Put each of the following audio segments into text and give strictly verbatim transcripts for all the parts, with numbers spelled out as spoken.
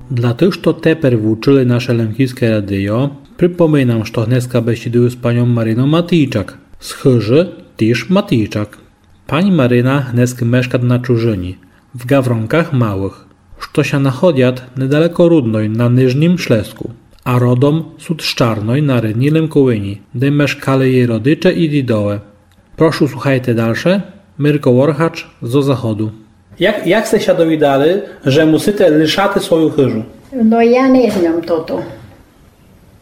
Для тых, што тепер вучыли наше Лемківске радіо, припоминам, што гнеска бесідую з паньом Маринов Матійчак, з хыжы тіж Матійчак. Пань Марина гнескы мешкат на чужыні, в Гавронках Малых, што ся находят недалеко Рудной на Нижнім Шлеску, а родом сут з Чарной на Рідній Лемковині, де мешкали єй родиче і дідове. Прошу, слухайте дальше. Мирко Воргач зо заходу. Як, як сте ся довідали, же мусите лишати свою хыжу? Но я не знам тото.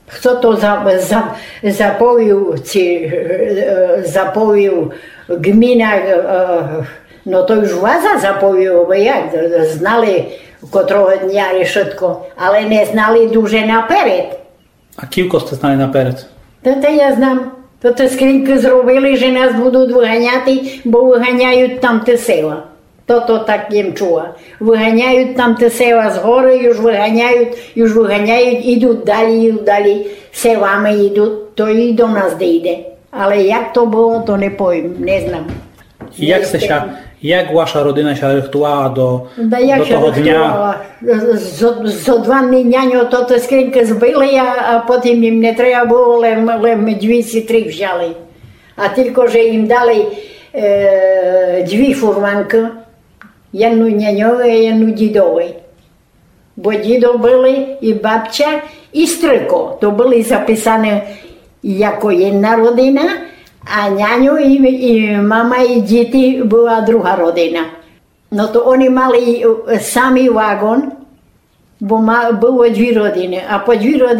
Хто то за, за, заповів, ці, е, заповів ґміна, е, но то уж ваза заповів, бо як, знали котрого дня і шытко, але не знали дуже наперед. А кілько сте знали наперед? Та, та я знам. То те скринькы зробили, же нас будут выганяти, бо выганяют там те села. То, то так єм чула. Выганяют там те села з горы, уж выганяют, уж выганяют, ідут далі, ідут далі, селами ідут, то і до нас дійде. Але як то было, то не повім, не знам. І як сте ся, як ваша родина ся рыхтувала до, Да як до ся того дня? Рыхтувала? Зо, зо два дні няньо то, то скринькы збили, а, а потім їм не треба было, лем, лем дві ці три взяли. А тілько, же їм дали, е, дві фурманкы, єдну няньови, а єдну дідови. Бо дідо были, і бабця, і стрыко. То были записані яко єдна родина, а няньо і, і мама, і діти была друга родина. Но то они мали, е, самый вагон, бо ма-, было дві родины, а по дві родины